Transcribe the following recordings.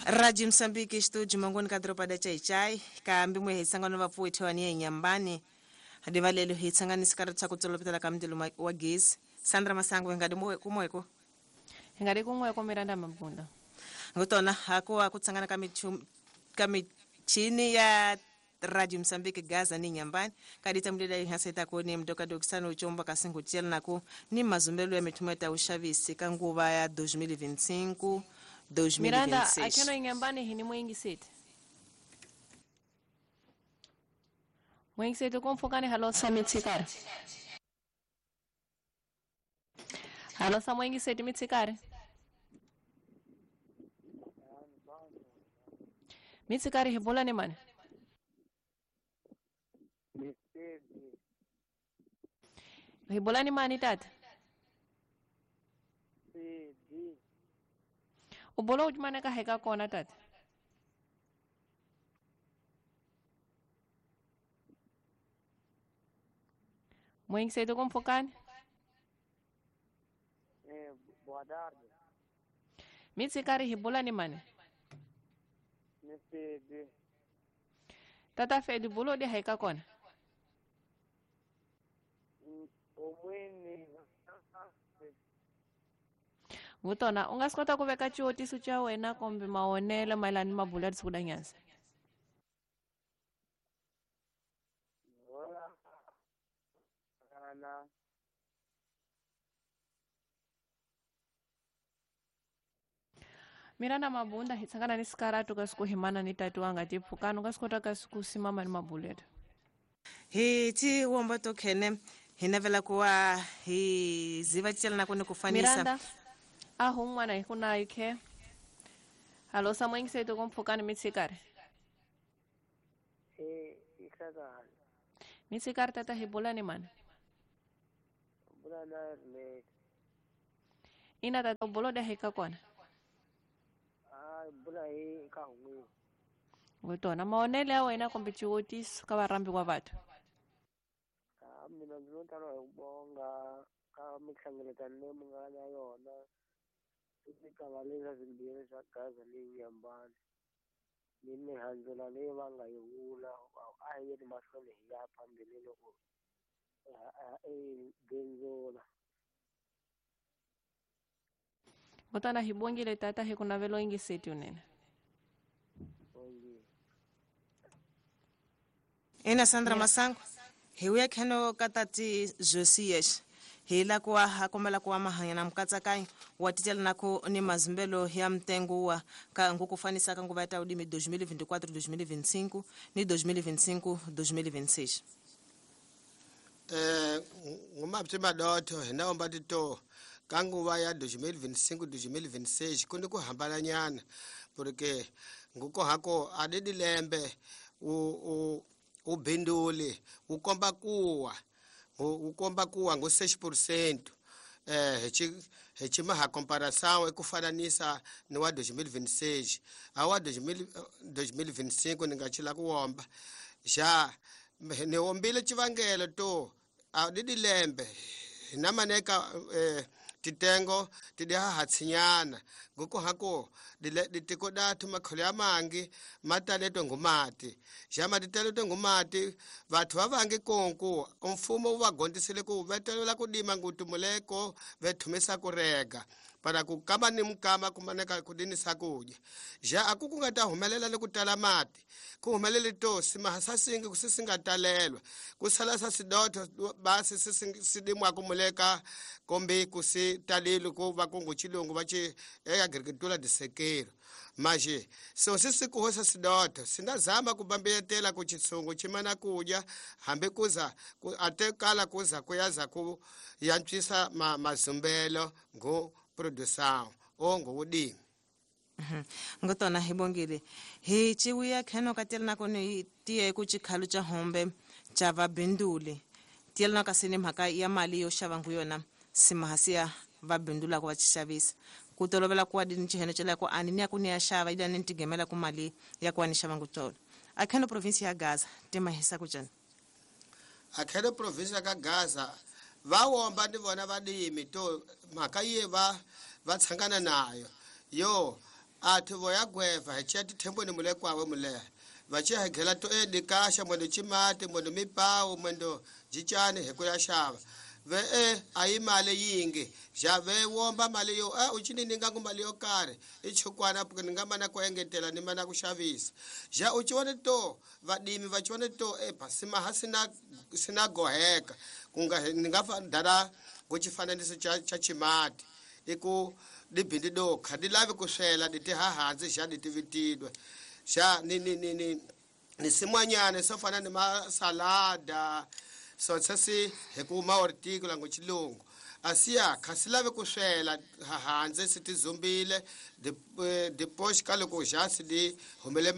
Radio Msambiki studio mangoni ka doroba da Chaichai ka mbimwe hi sangano vapfuwi thewani ya Nyambani hadivalelo hi tsanganisa ka ri ku tsolopetela ka mundilo wa gezi. Sandra Masango hi nga di kumweko hi nga di kun'weko Miranda Mabunda ngutona hakuwa ku tsangana ka michini ya Radio Msambiki Gaza ni Nyambani kadita mlela ihaseta koni mdoka dokisano uchomba kasingu tshela nako ni mazumbelo ya mithumo ya ushavisi ka nguva ya 2025 2026. Miranda akeno Nyambani hini mwingi seti mwingi seti kumfukani halo samitsikari halo sa mwingi seti mitsikari mitsikari hebola ni mani Hibola ni mani tata? Ubola ujumane ka heka kona tata? Mwengi seto kumfokani? Boa tarde. Mitsikari hibola ni mani? Mifedi. Tata Fedi bulo di heka kona? Vutona u nga swi kota ku veka xivutiso xa wena kumbe mavonelo mayelana ni mabulo ya siku nyanza. Miranda Mabunda hi tsangana ni sikaratu ka siku himana ni tati wa nga ti pfukani u nga swi kota ka siku simama ni mabulo yetu. Hi ti womba to khene hi navela ku wa hi ziva tshela na ku ni ku fanisa. Miranda a hun'wana hi ku na ikhe halo sa mwengi seto kumpfukani mitsikari mitsikari tata hi bula ni mani ina tata bulo da hika kona vutona mavonelo ya wena kumbe xivutiso ka varhambi wa vathu. Mina ndzi no tala hi ku bonga ka mihlengeletano leyi mi nga na yona i leswa swimbirhi swa Gaza leyi Nyambani ni mihandzula leyi va nga yi vula a hi yeni mahlweni hi ya phambili loko hi bindzula. Vutana hi bongile tata hi ku navelo yingiseti unene. Ina Sandra Masango hi uya kheno ka tati Josias hi la ku ha kombela ku wa mahanya na mukatsakanyo wa titela nako ni mazumbelo ya mtengo wa ka nguku fanisa ka nguva ya ulimi 2024 2025 ni 2025 2026. Ngumapti madotho hi na omba tito ka nguva ya 2025 2026 ku ni ku hambana nyana porque nguko hako adidi lembe u ubinduli ukomba kuwa ngo 6% hi comparação ekufananisa ni wa 2026 awa 2025 ni nga chila ku womba ja ni wombile chivangelo to adidi lembe na maneka titengo tidiha hatsinyana ngoko hako ditiko dathu makholo ya mangi mataletwe ngumati jama ditaletwe ngumati vathu vavangi konku mfumo wu va gondisile ku vetelela ku dima ngutumuleko vethumisa ku rega para ku kama ni mukama kumaneka ku dinisa kudya ja aku ku nga ta humelela ni ku tala mati ku humelele to simahasasingi ku singa talelwa ku sala sa sidotho basi sidimwa kumuleka kombe ku si talile ku va ku nguchilungu va ci agricultura de sequeiro maje so sisi ku hosa sidotho sindazama ku bambiyetela ku chitsungu chimana kudya hambi kuza ku atekala kuza kuyaza ku yantswisa mazumbelo ngo produção o ngo wudimi. Ngotona hi bongile hi chiwiya kheno ka tela nako ni tiye ku chikhalu cha hombe cha vabinduli tiyela na kasini mhaka ya mali yo xava ngu yona simahasiya vabindula ku va xavisa ku tolovela ku adini chiheno chela ku ani ni ya ku ni ya xava ila ni tigemela ku mali ya ku ani xava ngu tolo akheno province ya Gaza timahisa ku jani akheno province ya Gaza va womba ni vona vadimi to mhaka ye va tshangana nayo Yo athu vo ya gweva hi chiya tithembweni mule kwawe mule va chiya hi ghela to edikasha mwendo chimati mwendo mipawu mwendo jichani hi ku ya xava ve e a yi mali yingi ja ve womba mali yo a u chini ni nga ku mali yo karhi i chukwana ni nga mana ku engetela ni mana ku xavisa ja u chiwone to vadimi va chiwone to e pasima ha sina sina goheka ku nga ni nga dala ku xifananiso xa chimati i ku dibindi do kha di lavi ku swela di ti hahansi xa di tivitidwe xa ni ni ni ni ni simwanyana swo fana ni masalada so si hi ku ma horticola ngo xilungu asiya kha si lavi ku swela hanze si ti zumbile dipoxi ka loko xa si di humele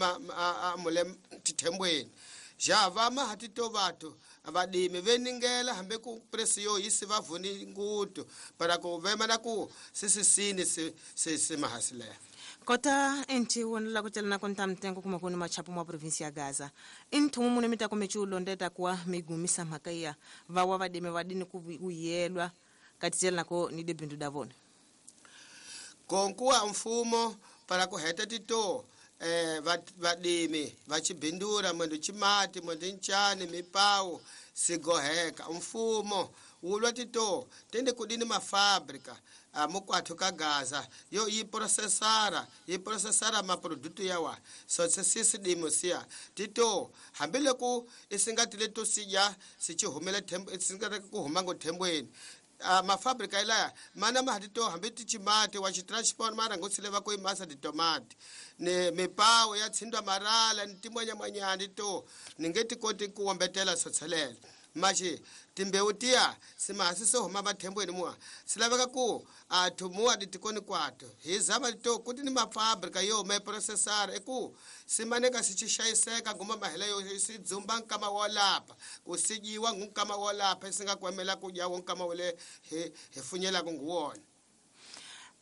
mule tithembweni ja va ma ha tito vathu vadimi ve ningela hambi ku presi yo yi si va vuni ngutu para ku vema na ku sisisini si si si mahasileha kota enti wona la ku celana konta mtengo kuma kuni machapu mwa provinsi ya Gaza inthumu mune mita kume chiulondeta kuwa migumisa mhaka ya vawa vadimi vadini kuyelwa kati celana ko ni debindu davona konkuwa mfumo para ku heta tito vadimi vachibindura mwendo chimati mwendo nchani mipawu sigoheka mfumo wulwa tito tende kudini mafabrika mukwathu ka Gaza yo yi processara maproduto yawa so sisi dimo siya tito hambiloko isingatile to siya sichihumele thembo isingata ku huma ngo thembweni mafabrika ilaya mana mahatito hambi tichimati wa chitransport mara ngotsile va ku imasa titomati ni mipawu ya tsindwa marala ni timwanyamwanyani to ni nge ti koti ku wombetela sotshelela maxi timbewu tiya simahasi se huma vathembweni muwa si laveka ku athu muwa ditikoni kwato hi zama to kuti ni mafabrika yo me processara i ku simaneka si xayiseka nguma mahela yo si dzumba nkama wo lapa ku si dyiwa ngu nkama wo lapa si nga kwemela ku dya wo nkama wole hi funyelaka ngu wona.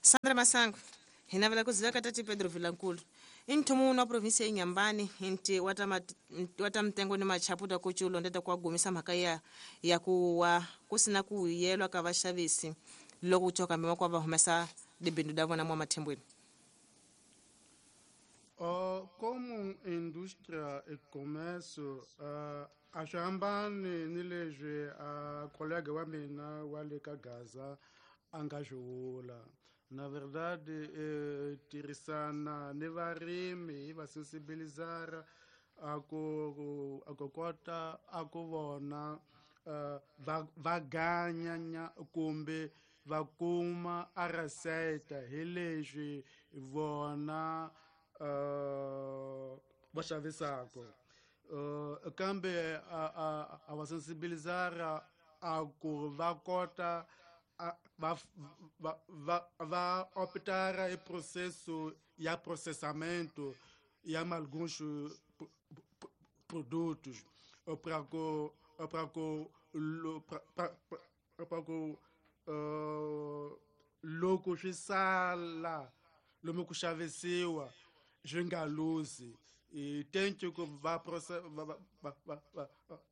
Sandra Masango hi navela ku ziveka tati Pedro Vilankulu inthumu wa provinsi ya Inhambane inti wata mtengo ni machaputa ku chiulondeta kwa gumisa mhaka ya kuwa kusina ku yelwa ka vaxavisi loko ku coka mima kwa va humesa dibindu da vona mwa mathembweni. Como indústria e comércio, a swi hambani ni leswi a colega wa mina wa le ka Gaza a nga swi vula. Na verdade, tirhisana ni varimi hi va sensibilizara a ku kota a ku vona va ganyanya kumbe va kuma a receita hi leswi vona va xavisaka kambe a va sensibilizara a ku va kota va optar e processo ya processamento ya alguns produtos para ku loko swi sala lomu ku xavisiwa swi nga luzi tente ku va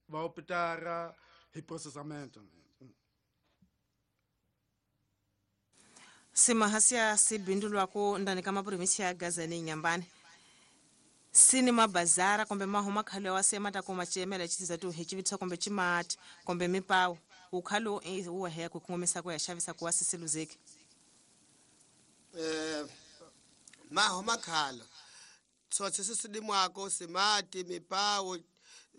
va optar hi processamento. Simahasiya sibindulwako ndani ka maprovinsi ya Gaza ni Inhambane sini mabazara kumbe mahuma khale wa sema ta kuma chemela chitizatu hi chivitsa kumbe chimati kumbe mipawu ukhalo uwa heya ku kongomisa ku ya xavisa ku wa sisiluzeki. Mahuma khalo tsotsi sisidimwako simati mipawu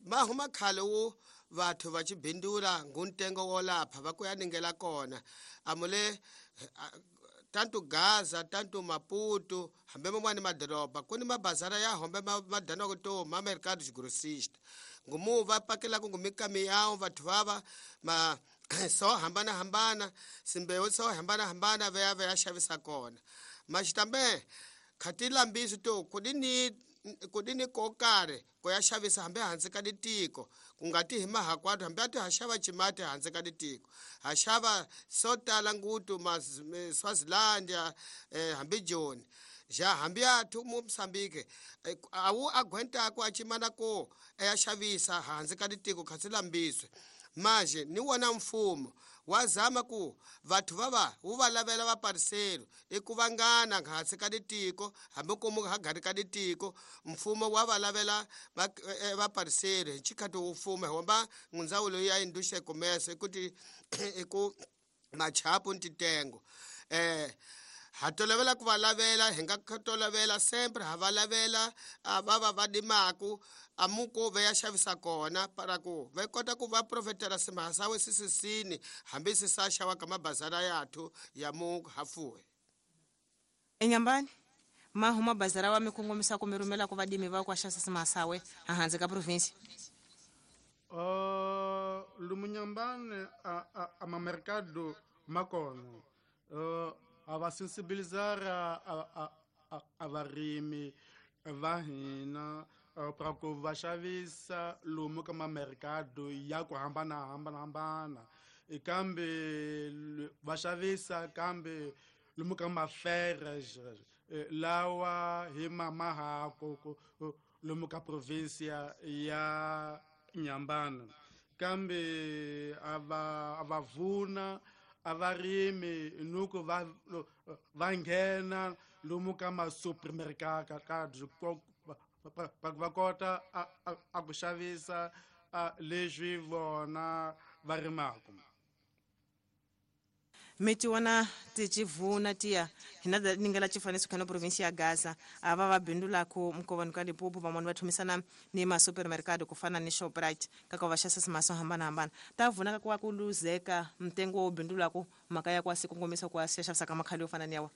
mahuma khalo wo vathu va chibindula nguntengo wo lapha va ku ya ningela kona amule tanto Gaza tanto Maputo hambe man'wani madoroba ku ni mabazara ya hombe madanaka to ma mercados grossista ngumu va pakelaka ngu mikamiyawu vathu vava ma so hambanahambana simbewu so hambanahambana va ya va ya xavisa kona maxitambe khati lambisi to ku dini ko karhi ku ya xavisa hambi hansi ka ditiko ku nga ti hi mahakwatu hambi a ti ha xava chimati hansi ka ditiko ha xava swo tala ngutu Swazilandia hambi Joni ja hambi athu mu Mozambique a wu aguentaku a chimana ko ya xavisa hansi ka ditiko kha swi lambiswe Manje ni wona mfumo wa zama ku vathu va wu va lavela vapariselo i ku vangana hansi ka litiko, hambi ku mu hagari ka litiko, mfumo wa va lavela vapariselo hi xikhathi wu mfumo homba ndzawulo ya industria commerce ku ti i ku machapu ntitengo. Ha tolovela ku va lavela, hi nga tolovela sempre ha va lavela va va va dimaku amuko va ya xavisa kona para ku va kota ku va profetela simahasawe sisisini hambi si sa xava ka mabazara yathu ya mu hafuwe. Enyambani mahuma bazara wa mikongomisa ku mi rhumela ku vadimi va ku xavisa simahasawe hanze ka province. Lumunyambani a ma mercado makona a va sensibilizar a varimi va hina para ku va xavisa lomu ka mamercado ya ku hambanahambana, kambe va xavisa kambe lomu ka mafere lawa hi mamahako lomu ka provinsia ya Inhambane, kambe a va vuna a varimi nuku va nghena lomu ka ma-supermercado va kota a ku xavisa leswi vona va rimaka. Mi ti vona ti civuna tiya hina ningela xifaniso khana province ya Gaza a va va bindulaku mkovani ka Limpopo van'wani va thumisana ni ma supermercado ku fana ni Shoprite kaka va xavisa maso hambanahambana ta vunaka ku wa ku luzeka mtengo wo bindulaku mhaka ya ku a si kongomisa ku a si xavisa ka makhali yo fana ni yawa.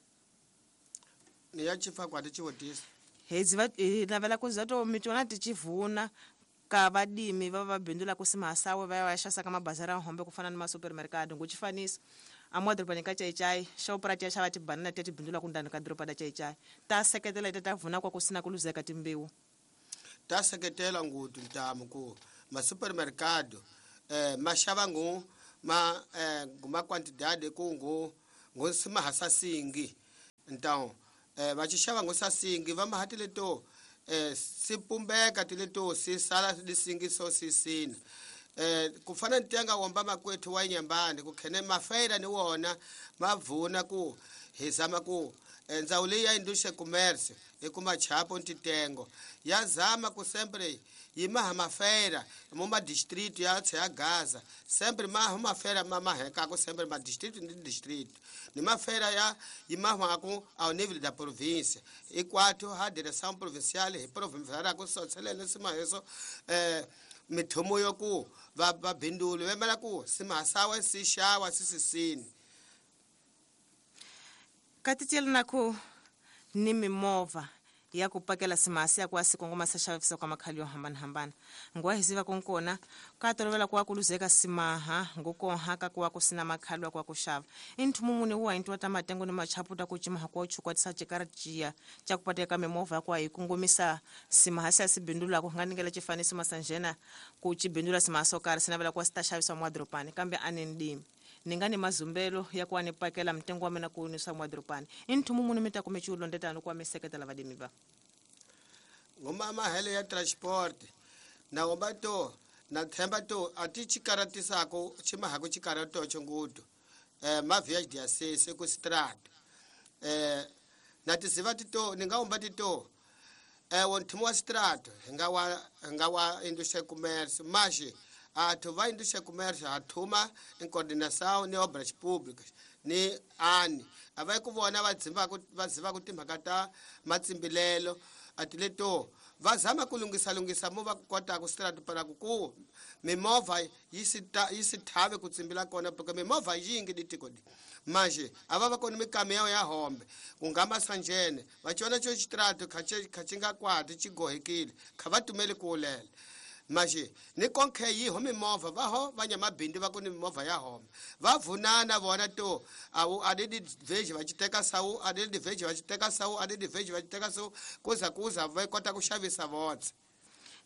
Ni ya chifa kwa ti chiwotisa. Hi navela ku za to mi tona ti civuna ka vadimi va va bindulaku simahasawe va ya va xavisa ka mabazara ya hombe ku fana ni ma supermercado ngo xifaniso a mo dorobeni ka Chaichai Shoprite ya xava tibanana ti bindula ku ndani ka doroba la Chaichai ta seketela ta vuna kwa ku sina ku luzeka timbewu. Ta seketela nguthu ntamu ku ma supermercado ma xava ngu ma ma quantidade ku ngu ngu simahasa singi então va xi xava ngu sasingi va mahatile to si pumbeka tile to si sala lisingi so si sina. Ku fana ni tenga womba makwethu wa Inhambane ku khene mafeira ni wona mavuna ku hi zama ku ndzawulo leyi ya industria commerce i ku machapo ntitengo ya zama ku sempre yi maha mafeira mo ma district ya tshe ya Gaza sempre maha mafeira ma mahekako sempre ma district ni district ni mafeira ya yi mahaku ao nível da província e quatro ha direção provincial hi provincial ku sotselele simaheso mithomo yo ku va bindulu vemela ku simahasawe si xawa si sisini. Katitiyela na ku ni mimovha ya ku pakela simahasi ya ku a si kongoma sa xavisa kwa makhali yo hambanahambana nguwa hi ziva konkona ka tolovela ku wa ku luzeka simaha ngukonha ka ku wa ku sina makhali wa ku wa ku xava i nthumu muni wu wa hintiwa ta matengo ni machapu ta ku cimaha ku wa chukwatisa cikara ciya ca ku pateka mimovha ya ku wa yi kongomisa simahasi ya si bindulaku nga ningela xifaniso masanjena ku ci bindula simahasi wo karhi si navela ku wa si ta xavisiwa mwadorobani kambe a ni ndimi ni nga ni mazumbelo ya ku wa ni pakela mtengo wa mina ku nisa mwadorobani i nthumu muni mi ta kume ciwulondetano ku wa mi seketela vadimi va ngoma mahele ya transport na womba to na themba to a ti xikaratisako ximahaku xikarato xingudu ma via diocese ku strat na tiziva tito ni nga womba tito wo nthumu wa strat hi nga wa industria commerce maxi athu va industria commerce ha thuma em coordenação ni obras públicas ni ani a va ku vona va dzimbaku timhaka ta matsimbilelo a ti leto va zama ku lunghisalunghisa mo va kota ku strat para ku mimovha yi si thave ku tsimbila kona porque mimovha yingi di tiko di manje a va va kona mikamiyo ya hombe ku nga masanjene va cona xo xitrato kha xi nga kwati xi gohekile kha va tumeli ku lela manje ni konkhe yi ho mimovha va ho va nyamabindi va ku ni mimovha ya home va vunana vona to awu a di veji va xi teka sawu a di veji va xi teka sawu a di veji va xi teka sawu kuza va kota ku xavisa votse.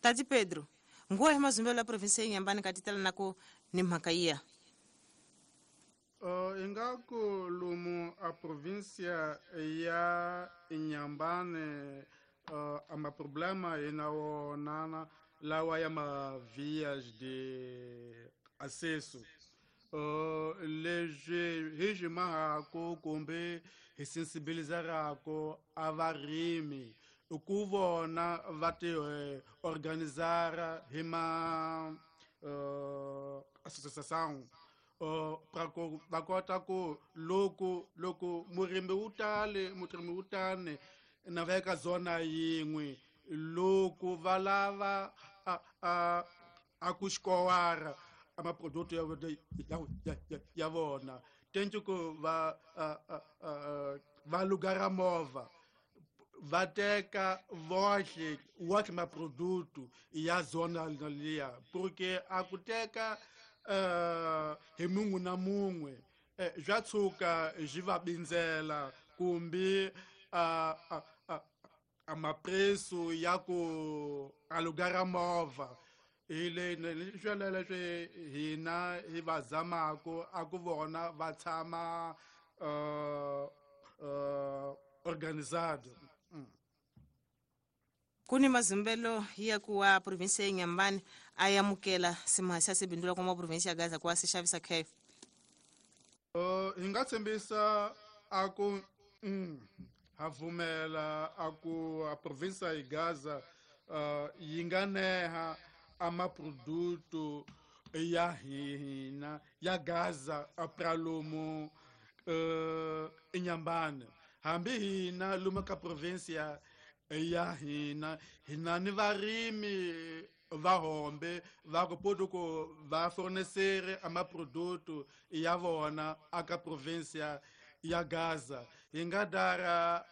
Tati Pedro nguwa hi mazumbelo ya province ya Inhambane ka titela na ku ni mhaka yiya. Ingaku lomu a província ya Inhambane a ma problema hi na wona lawa ya ma vias de acesso. Leswi hi swi mahako kumbe hi sensibilizarako a varimi i ku vona va ti organizara hi ma associação pra ku va kota ku loko murimi wu tale murimi wu tani na va eka zona yin'we loko va lava a ku xikowara a maproduto ya vona tentu ku va va lugara movha va teka vohle wohle maproduto ya zona liya porque a ku teka hi mun'we na mun'we bya tshuka byi va bindzela kumbe a mapreço ya ku alugara movha hi le swelelo leswi hina hi va zamako a ku vona va tshama organizado. Ku ni mazumbelo ya ku wa provinsi ya Inhambane a yamukela simahasi ya sibindula kuma provinsi ya Gaza ku wa si xavisa khe. Hi nga tshembisa a ku ha pfumela a ku a provinsi ya Gaza yi nga neha a maproduto ya hina ya Gaza a pralomu Inhambane hambi hina lomu ka provinsi ya hina hina ni varimi va hombe va ku poto ku va fornecer a maproduto ya vona aka provinsi ya Gaza. Hi nga dara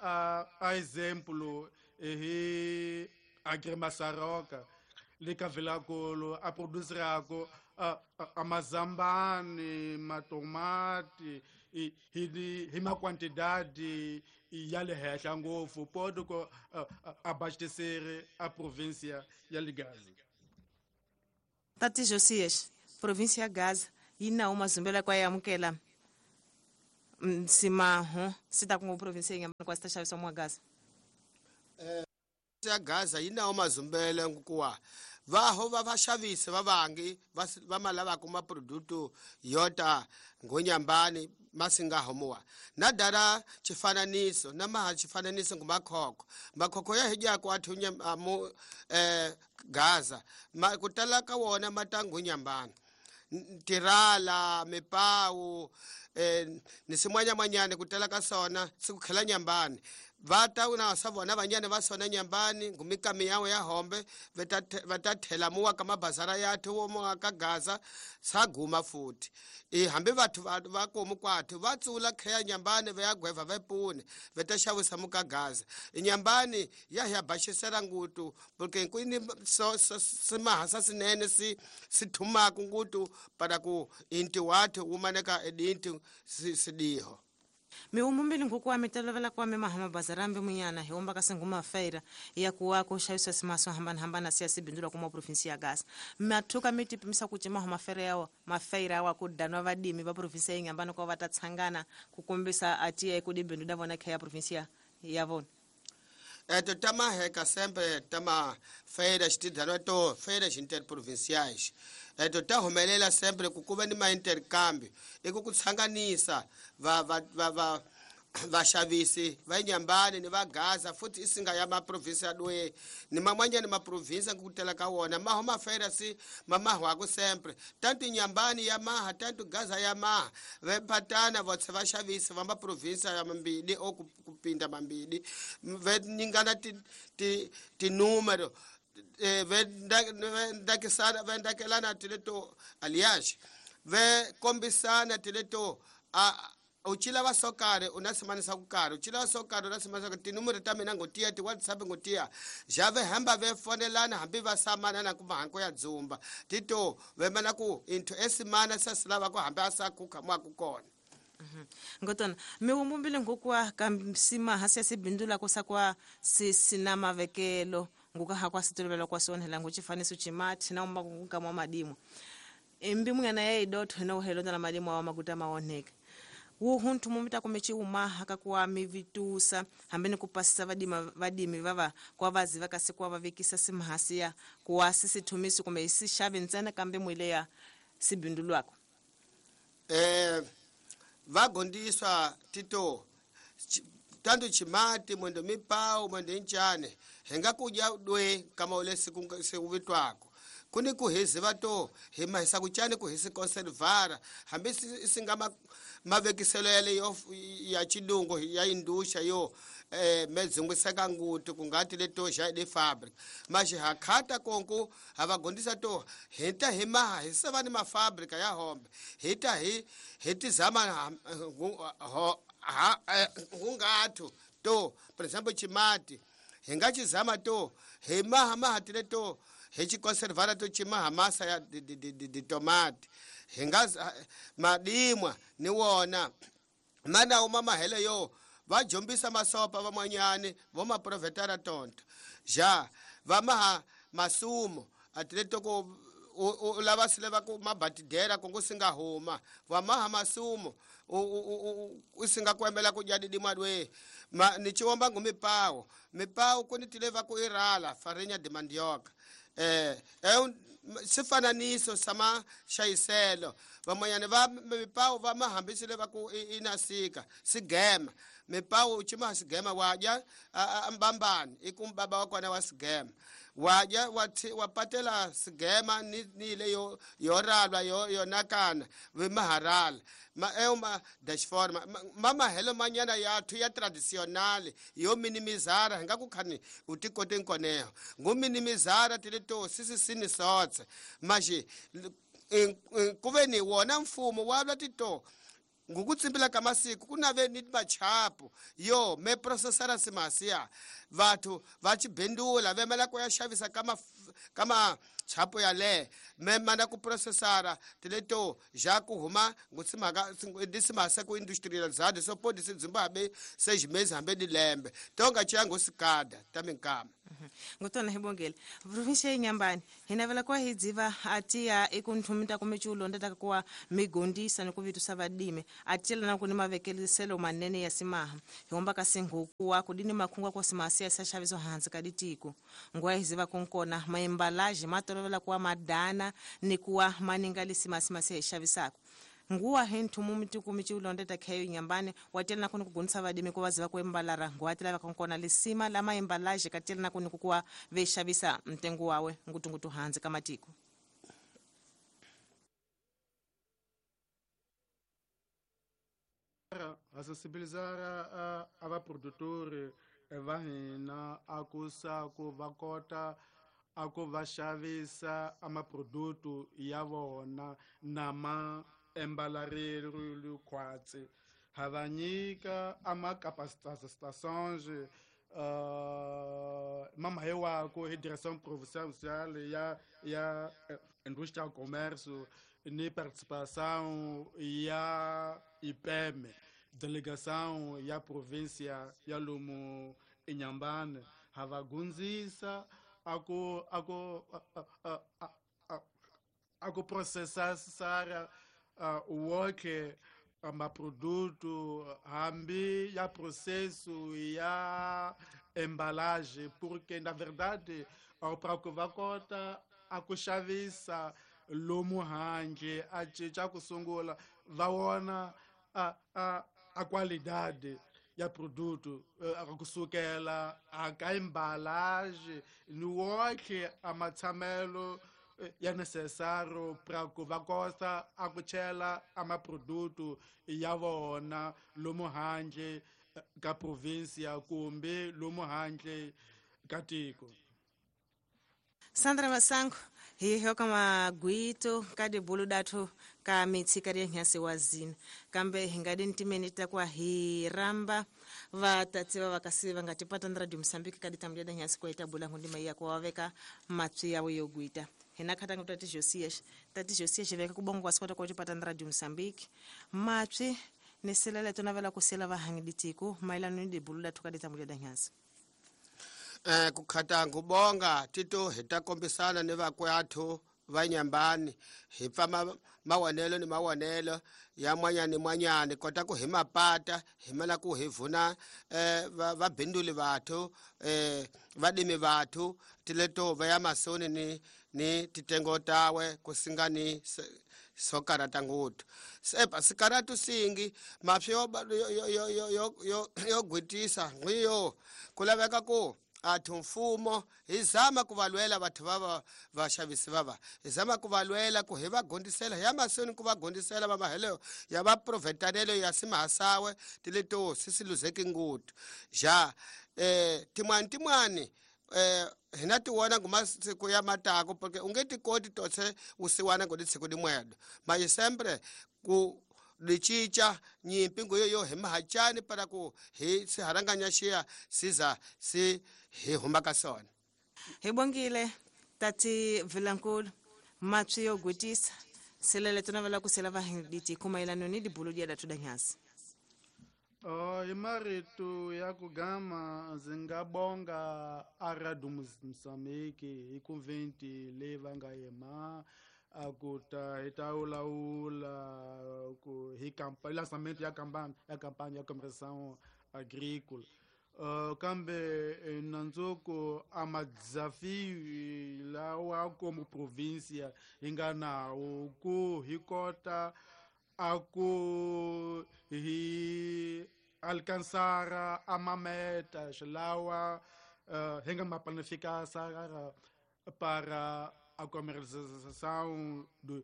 a exemplo hi Agrimasaroka le ka Vilakolo a produzirako a mazambani matomati hi maquantidade ya le henhla ngopfu poto ku abastecere a província ya le Gaza. Tati Josias, província ya Gaza yi nawo mazumbelo ya ku ya amukela simaho swi ta ku província yi nga kwa swi ta xavisiwa mwa Gaza. Ya Gaza yi nawo mazumbelo nkuwa vaho va vaxavisi va vangi va ma lavaka maproduto yota ngonyambani masinga homuwa na dara xifananiso na maha xifananiso ngu makhokho makhokho ya hidyako athu mu Gaza ku tala ka wona ma ta ngonyambani tirala mipawu ni simwanyamanyane ku tala ka sona si ku khela nyambani va ta na sa vona vanyane va sona nyambani ngumikami yawe ya hombe va ta thela muwa ka mabazara ya thu wo muwa ka Gaza sa guma futhi hambi vathu va komu kwathu va tsula kheya nyambani va ya gweva va pune va ta xavisa muka Gaza nyambani ya ya baxisela ngutu porque ku ni so simahasa sinene si sithumaka ngutu para ku inti wathu wumaneka edinti sidiho. Miumumbili nkuku wa mitolovela kwa mema hama bazarambi munyana hiomba kasinguma feira ya kuwa kushayisa simaso hambana hambana siya sibindula kuma provinsi ya Gaza. Mathuka miti pimisa kuchima hama feira yawo mafeira wa kudanwa vadimi va provinsi ya Inhambane kwa vatatsangana kukombisa atia ekudibindu davona kha ya provinsi ya vona. Eto tama heka sempre tama feira xitidanwa to feiras interprovinciais. Eto ta humelela sempre ku kuva ni ma-intercambio i ku tsanganisa va vaxavisi va Inhambane ni va Gaza futhi isinga ya maprovinsi ya dwe ni man'wanyana maprovinsi ku tela ka wona maho mafeira si mamahwako sempre tanto Inhambane ya maha tanto Gaza ya maha vepatana votse vaxavisi va maprovinsi ya mambili o kupinda mambili ve nyingana tinúmero vendakisana vendakelana tileto aliás ve kombisana tileto a uchila va sokare unasimanisa ku karhi uchila va sokare unasimanisa ku tinumero ta mina ngotiya ti WhatsApp ngotiya jave hamba ve fonelana hambi va samana na ku mahanko ya dzumba tito ve mana ku into esimana sasilava ku hambi asakukha mwa ku kona. Ngotona miwumbumbile ngokwa kamsima hasi sibindula kusakwa sisina mavekelo nguka hakwa sitolovela kwa sonhela nguchifaniso chimati na umba kungamwa madimo embi mwana ya idotho na uhelo na madimo wa maguta maoneka wuhuntu mumita kumechi umaha kakuwa mivitusa hambeni kupasisa vadimi vava kwa vazi vakasi kwa vavekisa simhasia kuwa sisi tumisi kume isi shavi ntsena kambe mwile ya si bindulwako? Va gondiswa tito tanto chimati mwendo mipau mwendo nchane henga kudya dwe kama ule siku sikuvitwako kuni kuhiziva to hi mahisa kuchani kuhisi conservara hambi singa mavekiselo yale yo ya chidungo ya indusha yo medzungwiseka nguti kungati leto xa de fabric maxi hakhata konku havagondisa to hita hi maha hi seva ni mafabrika ya hombe hita hi hi tizama hungathu to por example chimati hi nga chizama to hi maha maha tile to hi chiconservara to chimaha masa ya di tomate hi nga madimwa ni wona mana uma mahele yo va jombisa masopa van'wanyani vo maprovetara tonto ja va maha masumo atile ku u lava sile va ku mabatidera ku singa huma va maha masumo u singa ku emela ku dya didimwa dwe ma ni chiwomba ngu mipawo mipawo ku ni tile va ku irala farinha de mandioca sifananiso sama xayiselo van'wanyani va mipawo va mahambisile va ku inasika sigema mipawo u cima sigema wa dya mbambani i ku baba wa kona wa sigema wa dya wa patela sigema ni le yo yo ralwa yo yo nakana vi maharala ma ma dashforma ma mahelo manyana ya thu ya traditional yo minimizara hi nga ku khani u ti kote nkoneho ngu minimizara tile to sisisini sotse maxi ku ve ni wona mfumo wa vula tito ngukutsimbila ka masiku ku nave ni machapu yo me processara simasiya vathu va chibindula vemela ku ya xavisa ka machapu yale me mana ku processara tileto ja ku huma ngutsimaka disimasa ku industrializado so podi se Zimbabwe seis meses hambe di lembe tonga chiyango sikada taminkama ngotona hibongele provincia ya Inhambane hinavela kwa hidziva atia ikunthumita kumichulo ndataka kuwa migondisa nikuvitusa vadime atiyela na kuni mavekeliselo manene ya simaha hiomba kasingukuwa kudini makhungwa kwa simasia sa xaviso hansi ka ditiko ngwa hiziva kunkona maembalaje matolovela kuwa madana ni kuwa maninga lisimasimasi xavisako nguwa henthu mitiku michiulondeta khayo Inhambane watela na kuni kugunisa vadimi ku vaziva ku embalara nguwa tela vakonkona lisima la maembalaje katela na kuni kukuwa vexavisa mtengo wawe ngutungutu hansi ka matiko. A sensibilizar a vaprodutori va hina a ku sa ku va kota a ku va xavisa a maproduto ya vona na ma embalarelo khwatsi ha va nyika a ma capacitações mamahe wako hi direção provincial ya indústria comércio ni participação ya IPM delegação ya província ya Lumo Inhambane ha va gunzisa ako ako ako processar woke maproduto hambi ya processo ya embalagem porque na verdade para que va kota a ku xavisa lomu handle a cinca ku sungula va wona a qualidade ya produto kusukela a ka embalagem ni woke a matshamelo ya necessário para que va kota a ku chela a maproduto ya vona lomu handle ka província kumbe lomu handle ka tiko. Sandra Masango hiyo kama gwito kadi bulu datu ka mitsi kadi nyasi wazini kambe hingadi ntimeni takwa hiramba vatatsi va vakasi va nga tipata na Radio Mozambique kadi tambulia nyasi kwa itabula ngundima ya kwa waveka matsi yawo yogwita hina khatanga tati Josias tati Josias veka kubongo kwa sikota kwa tipata na Radio Mozambique matsi neselele tonavela kusela vahangiditiko mailano ni bulu datu kadi tambulia nyasi. Kukhata ngubonga tito hita kombisana ni vakwathu va Inhambane hi pfa mawonelo ni mawonelo ya mwanyani mwanyani kota ku hi mapata hi mela ku hi vuna vabinduli vathu vadimi vathu tileto va ya masoni ni titengo tawe kusinga ni So karata ngopfu sepa sikaratu singi mapsi yo yo yo yo yo yo yo gwitisa ngwiyo ku laveka ku athu mfumo hi zama ku va lwela vathu va vaxavisi vava hi zama ku va lwela ku hi va gondisela ya mahlweni ku va gondisela va mahelo ya va provetanelo ya simahasawe tileto sisiluzeki ngopfu ja tin'wani tin'wani hina tiwona ngumasiku ya matako porque u nge ti koti tose wusiwana ngo litshiku limwedo maye sempre ku licinca nyimpi nguyo yo hi mahacani para ku hi siharanganya xiya siza si hi huma ka sona. Hi bongile tati Vilankulu mapsi yo gwitisa selele tunavela ku sela vahinditi kumaelano ni dibulo dia datu danyasi. Hi marito ya ku gama ndzi nga bonga a Radio Mozambique hi conventi leyi va nga yema a ku ta hi ta wulawula ku hi lançamento ya campagne ya campagne ya comerciação agrícola. Kambe nandzuku a madesafio lawa como província hi nga nawo ku hi kota a ku hi alcançar a metas lawa hi nga ma planificar para a comercialização dos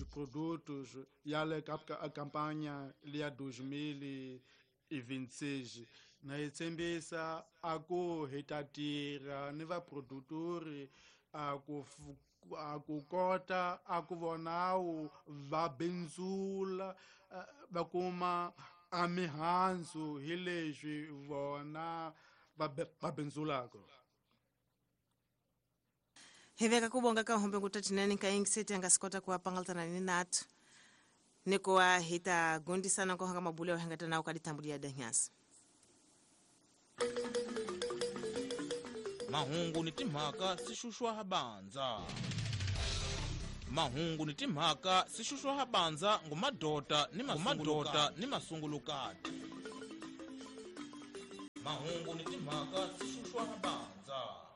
produtos ya le ka a campanha ya 2026. Na hi tshembisa a ku hi ta tirha ni vaprodutori a ku kota a ku vonawu va bindzula va kuma a mihandzu hi leswi vona va bindzulaka. Hi veka ku vonga ka hombe ku tatinene ka yingiseti a nga swi kota ku va pangalutana ni natu ni ku va hi ta gondisana ku hanga mabulo ya hangata nawu ka dithambu ya danyasi. Mahungu ni timhaka si xuxwa ha bandza. Mahungu ni timhaka si xuxwa ha bandza ngumadota ni mamadota ni masungulukati. Mahungu ni timhaka si xuxwa ha bandza.